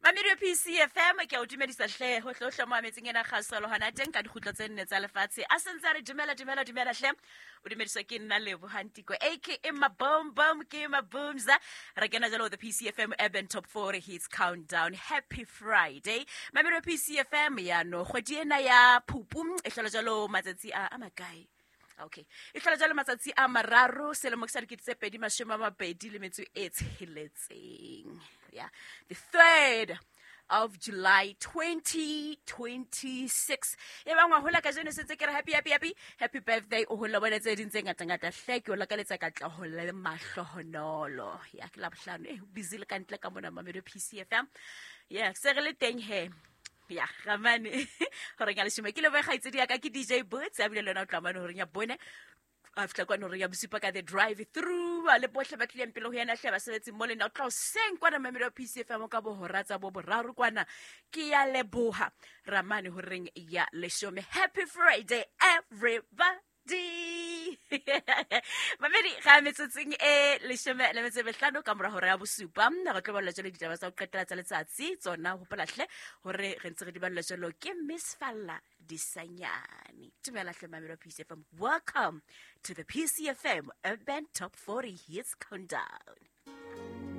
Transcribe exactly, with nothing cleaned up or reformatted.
Mamedi P C F M ke a o dumedisa hle hohle hohle mo ametseng ena kgaso le hona teng ka dikgutlo tse nne tsa lefatshe. A sentse a re dumela dumela dumela hle. O dumediswa ke nna Lebo Hantiko A K A Mabom Bom ke Mabumza. Re kena jalo the P C F M Urban Top four Hits Countdown. Happy Friday. Mamedi P C F M ya no kgwedi ena ya Phupu e hlola jalo matsatsi a a makae. Okay. E hlola jalo matsatsi a mararo selemo ke sa dikete tse pedi mashome a mabedi le metso e tsheletseng. Yeah. The third of July twenty twenty-six. E bang wa hola kajeno sentse ke re happy happy happy happy birthday o hola bona tse ding tse ngata ngata hle ke o lakaletsa katleho le mahlohonolo. Ya ke la bohlano eh busy le ka ntle ka mona Mamelodi P C F M. Yeah, se re le teng he. Ya ramane hore ka leshome ke le boe kgaitsedi ya ka ke D J Boots a bile le yona o tla mane hore ya bone a fihla kwana hore ya bosupa ka the drive through a le bohle ba tlileng pele ho yena hle basebetsi mo le nna o tla hoseng kwana Mamelodi P C F M ka bohora tsa bo boraro kwana ke ya leboha ramane horeng ya leshome. Happy Friday everybody. Mamedi ga metsotsong e leshome le metso e mehlano ka mora hora ya bosupa re tlo balla jalo ditaba tsa ho qetela tsa letsatsi tsona hopola hle hore re ntse re di balla jalo ke Miss Falla Disanyane. Dumela hle Mamelodi P C F M. Welcome to the P C F M Urban Top forty Hits Countdown.